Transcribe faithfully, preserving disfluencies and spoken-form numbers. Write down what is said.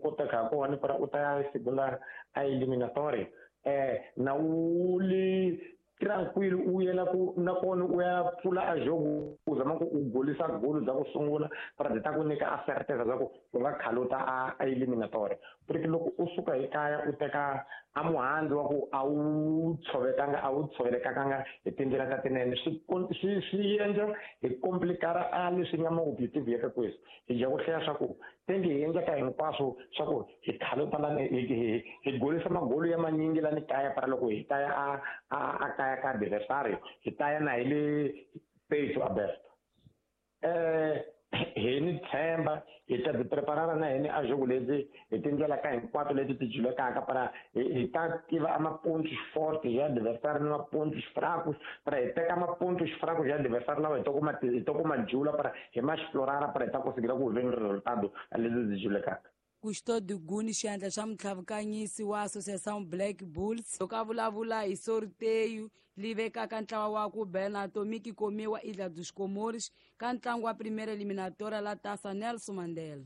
koteka ha kona para u ta ya segunda a eliminatoria eh na u li tranquilo u yela ku na kona u ya pfula a jogo u zama ku u golisa golo bya ku sungula para byi ta ku nyika a certeza bya ku u nga khaluta a a eliminatoria porque loko u suka hi kaya u teka a muhandzu wa ku a wu tshovekanga a wu tshovelekanga hi tindlela ta tinene swi swi swi endla hi complikara a leswi nga ma-objective ya ka kwesi hi dya ku hlaya swa ku tenge hi endleka hinkwaswo swa ku hi khaluta lani hi hi hi golisa magolo ya manyingi lani kaya para loko hi ta ya a a a kaya ka adversario hi ta ya na hi le pecho aberto eh hi ni tshemba hi ta ti preparara na hini a jogo leti hi tindlela ka hinkwato leti ti julekaka para hi ta tiva a mapontos fortes ya adversário ni mapontos fracos para hi teka mapontos fracos ya adversário lawa hi to kuma hi to kuma jula para hi ma explorara para hi ta conseguir ku veni resultado leti ti julekaka. Custódio Guni, xandla xa mutlhavukanyisi wa Associação Black Bulls, loko a vulavula hi sorteio li vekaka ntlawa wa ku bela Atomic Komiwa Ilha dos Comores ka ntlangu wa primeira eliminatória la Taça Nelson Mandela.